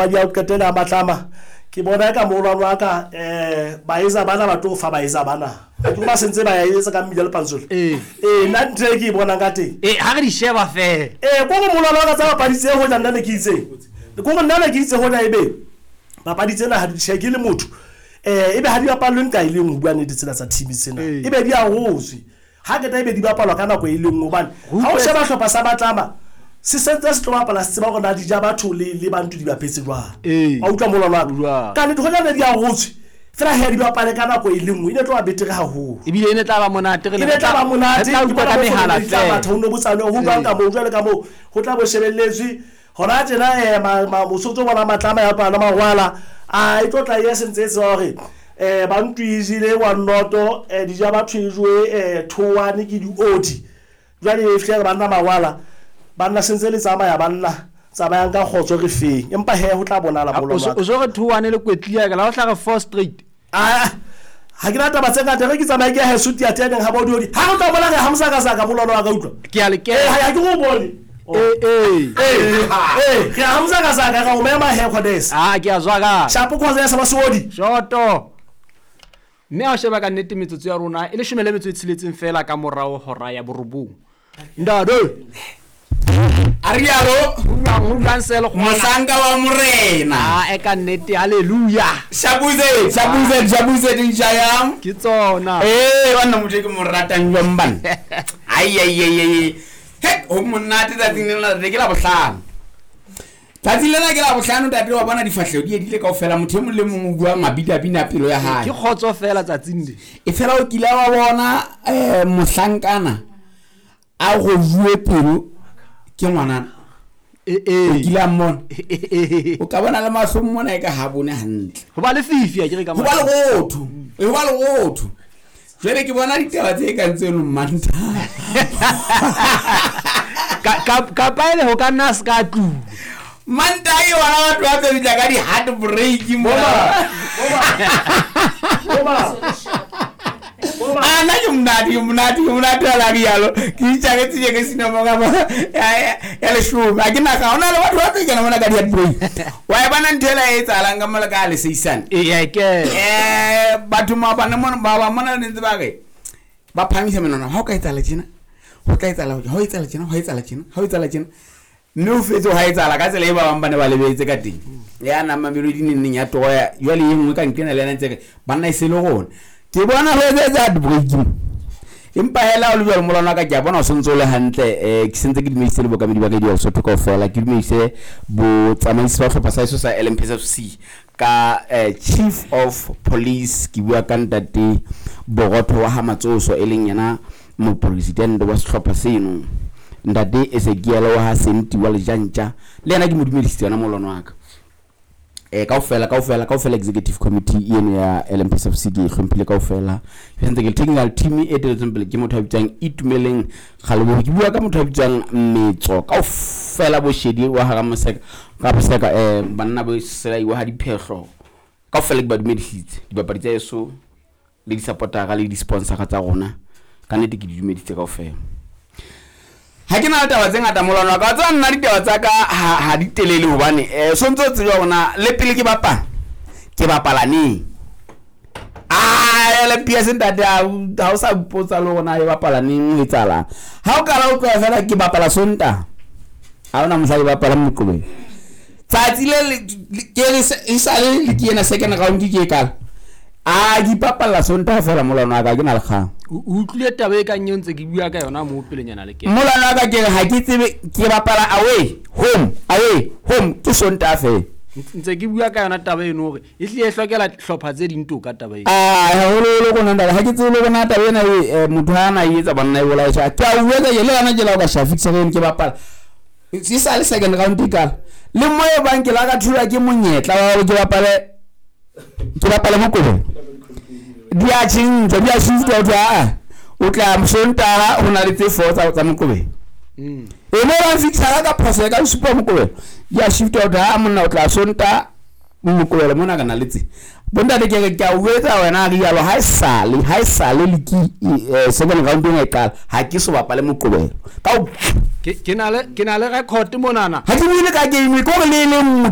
Papadi ya ho qetela ya Matlama, ke bona eka moholwane wa ka um baeza bana ba tlo fa baeza bana. Ha ke ba sentse ba ya etsa ka mmila le pantsole. Ee. Ee, nna ntho e ke e bonang ka teng. Ee, ha re di sheba feela. Ee, ko re moholwane wa ka tsa papadi tse hoja nna ne ke itseng. Ko re nna ne ke itse hoja ebe papadi tsena ha di tjhe ke le motho. Eh ebe ha di bapallwe nka e leng ho bua nnete tsena tsa team tsena. Ee. Ebe di arotswe. Ha qeta ebe di bapalwa ka nako e le nngwe hobane ha o sheba hlopha sa Batlama se sentse se tlo bapala se tseba hore na di ja batho le le bantu di bapetse jwang. Ee. Wa utlwa molwano wa ka? Jwang. Ka nnete hoja ne di arotswe fela he di bapale ka nako e le nngwe e ne tlo ba betere haholo. Ebile e ne tla ba monate re E ne tla ba monate Re tla ke utlwa bona ka bo mehala fono di tla feela. matha ho no botsanwe ho jwang ka moo jwale ka moo ho tla bo shebelletswe hona tjena mosotso bona Matlama ya pana Mawala a e tlo tla e sentse e tseba hore bantu e jele wa noto dija batho e jowe thowane ke diodi jwale e fihle re banna Mawala banna sentse le tsamaya banna tsamayang ka kgotso re feng empa he ho tla bonala O molwano wa ka. so re thowane le kwetlia ka la o hla re 4 straight. Ah, ha ke na taba tse ngata re ke tsamaye ke ya heso tiateneng ha bodiodi ha re tla bona re hamsa ka saka molwano wa ka utlwa. Ke a le Eh ha kena. ke go bone. Ee ee. Eh eh re hamsa ka saka ka o mema he khodes. Ah, ke a zwaka. Shapo khodes ba sodi. Shoto. Mme ha o sheba ka nnete metsotso ya rona e leshome le metso e tsheletseng feela ka morao hora ya borobong. Ntate. A rialo Ho jwang se le kgona? mohlanka wa morena. Ah, e ka nnete hallelujah. Shabuze, shabuze, shabuze dinjayam. Ke tsona. Eh, banna motho e ke mo ratang jwang banna. Ai ai ai ai. He, ho monate tsatsing lena re ke la bohlano. Tsatsing lena ke la bohlano ntate wa bona difahleho di edile kaofela motho e mong le mong o bua mabidabina a pelo ya hae. Ke kgotso feela tsatsing le. E fela o kile wa bona mohlankana a rojuwe pelo ke ngwanana. Ee O ee. kile a mmona. O ka bona le mahlong mona e ka ha bone hantle. Ho ba lefifi a ke re ka Ho ba lerotho. Ho ba lerotho. Jwale ke bona ditaba tse kang tseno Mmantaha. Kapa ele ho ka nna se ka tlung. Mantaha ke bona batho ba tlo fihla ka di-heartbreak mona. Boma. Boma. Ah, nna ke monate, ke monate, ke monate ha la rialo. Ke itjaketse tje ke sina mo ka mo ya leshome. Ha ke na ka hona le batho ba tlo kena mona ka di-heartbreak. Wa e bona ntho ela e etsahalang ka mola ka leseisane. Ee ke. Batho maobane mona ba ba mona ne ntse ba re ba phahamisa menwana ha o ka etsahala tjena ho tla etsahala ha o etsahala tjena ho etsahala tjena ha o etsahala tjena mme o fetse ha etsahala ka tsela e ba bang ba ne ba lebetse ka teng ya nang Mamelodi neng neng ya toya jwale e nngwe ka nqena le yena ntse re banna e se le rona ke bona ho etsa heartbreak empa hela o le jwalo molwana wa ka ke a bona o sentse o le hantle ke sentse ke dumedise le bookamedi ba radio ya Lesotho kaofela ke dumedise botsamaisi ba hlopha sa heso sa LMPSFC ka Chief of Police ke bua ka ntate Borotho wa ha Matsoso e leng yena mopresidente wa sehlopha seno ntate Ezekiel wa ha Senti wa Lejantja le yena ke mo dumedisitse yona molwana wa ka. Kaofela kaofela kaofela executive committee eno ya LMPSFC ke e hlomphile kaofela. Ke sentse ke technical team e eteletseng pele ke motho a bitswang Itumeleng Kgaleboho. Ke bua ka motho a bitswang Metso kaofela Boshedi wa hara Moseka ka Moseka banna bo Selai wa ha Diphehlo kaofela ke ba dumedisitse dibapadi tsa heso le di-supportera le di-sponsora tsa rona ka nnete ke di dumedisitse kaofela. Ha ke na le taba tse ngata molwana wa ka wa tseba nna ditaba tsa ka ha di telele hobane so ntso tseba hore na le pele ke bapala ke bapala neng. Ah, LMPS ntate ha o sa mpotsa le hore na e bapala neng ho etsahalang. Ha o kala o tloha fela ke bapala Sontaha. Ha hona mohla ke bapalang Moqebelo. Tsatsi le ke re e sale le ke ena second round ke e kala. Ah, ke ipapalla Sontaha fela molwana wa ka ke na le kgang. O utlwile taba e kang eo ntse ke bua ka yona moo pelenyana le kena. Molwana wa ka ke re ha ke tsebe ke bapala away home away home ke Sontaha fela. Ntse ke bua ka yona taba eno hore e hlile e hlokela hlopha tse ding toka taba eno. Ah, haholoholo rona ntate ha ke tsebe le rona taba ena e motho ha na e etsa banna e bolaye tjha. Ke a o etsa ke le yona ke la o ka shafitsa ke bapala. E sa le second round e kala. Le mo e bang ke la ka thulwa ke monyetla wa hore ke bapale Moqebelo. Di a tjhentjha, di a shift ho thwe aa o tla Sontaha ho na le tse 4 tsa Moqebelo. E mo ba fixa ka phoso ka supa Moqebelo. Di a shift ho thwe aa monna o tla Sontaha Moqebelo mona ka na le tse. Bontate ke re ke a o etsa wena a rialo ha esale le ke second round ena e qala ha ke so bapale Moqebelo. Ka Ke na le record monana. Ha ke buile ka game ko re le le nngwe.